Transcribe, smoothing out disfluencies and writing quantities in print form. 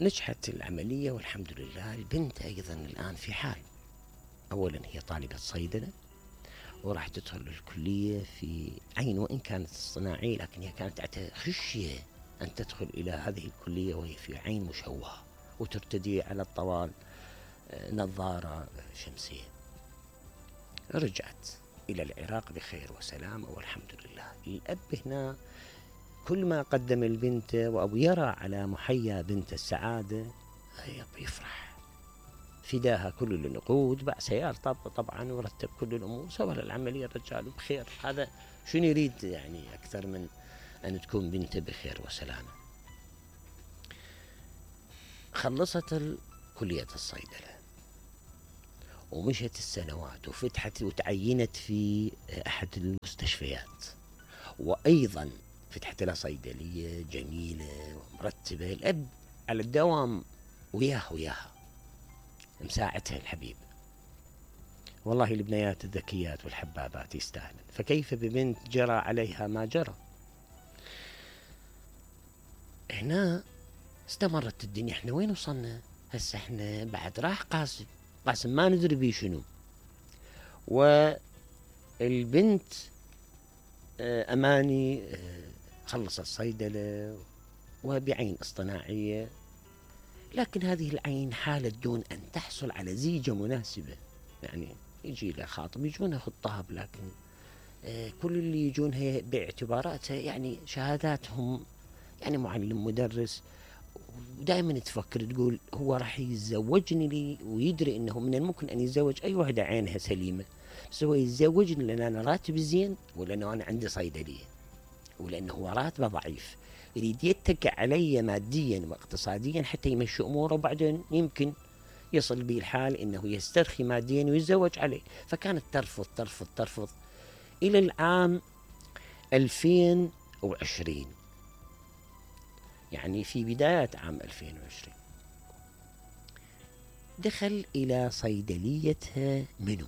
نجحت العملية والحمد لله. البنت أيضا الآن في حال، أولا هي طالبة صيدلة وراح تدخل الكلية في عين، وإن كانت صناعية لكن هي كانت خشية أن تدخل إلى هذه الكلية وهي في عين مشوهة وترتدي على الطوال نظارة شمسية. رجعت إلى العراق بخير وسلامة والحمد لله. الأب هنا كل ما قدم البنت وأبو يرى على محيا بنت السعادة يفرح، فداها كل النقود، باع سيارة طبعا ورتب كل الأمور، سوى العملية الرجال بخير. هذا شنو يريد يعني أكثر من أن تكون بنته بخير وسلامة. خلصت كلية الصيدلة ومشت السنوات وفتحت وتعينت في أحد المستشفيات، وأيضا فتحت لها صيدلية جميلة ومرتبة. الأب على الدوام وياها مساعدها الحبيب. والله البنيات الذكيات والحبابات يستاهلن، فكيف ببنت جرى عليها ما جرى. هنا استمرت الدنيا. احنا وين وصلنا هسه؟ احنا بعد راح قاسم ما ندري بيه شنو. والبنت أماني خلصت الصيدلة وبعين اصطناعية، لكن هذه العين حالت دون أن تحصل على زيجة مناسبة. يعني يجي لها خاطب يجونها خطاب، لكن كل اللي يجونها باعتباراتها يعني شهاداتهم يعني معلم مدرس، ودائما تفكر تقول هو راح يتزوجني لي ويدري انه من الممكن ان يتزوج اي وحده عينها سليمه، بس هو يتزوجني لان انا راتبي زين، ولانه انا عندي صيدليه، ولانه هو راتبه ضعيف، يريد يتكئ علي ماديا واقتصاديا حتى يمشي اموره، وبعدين يمكن يصل به الحال انه يسترخي ماديا ويتزوج عليه. فكانت ترفض ترفض ترفض الى العام 2020، يعني في بداية عام 2020 دخل إلى صيدليتها منو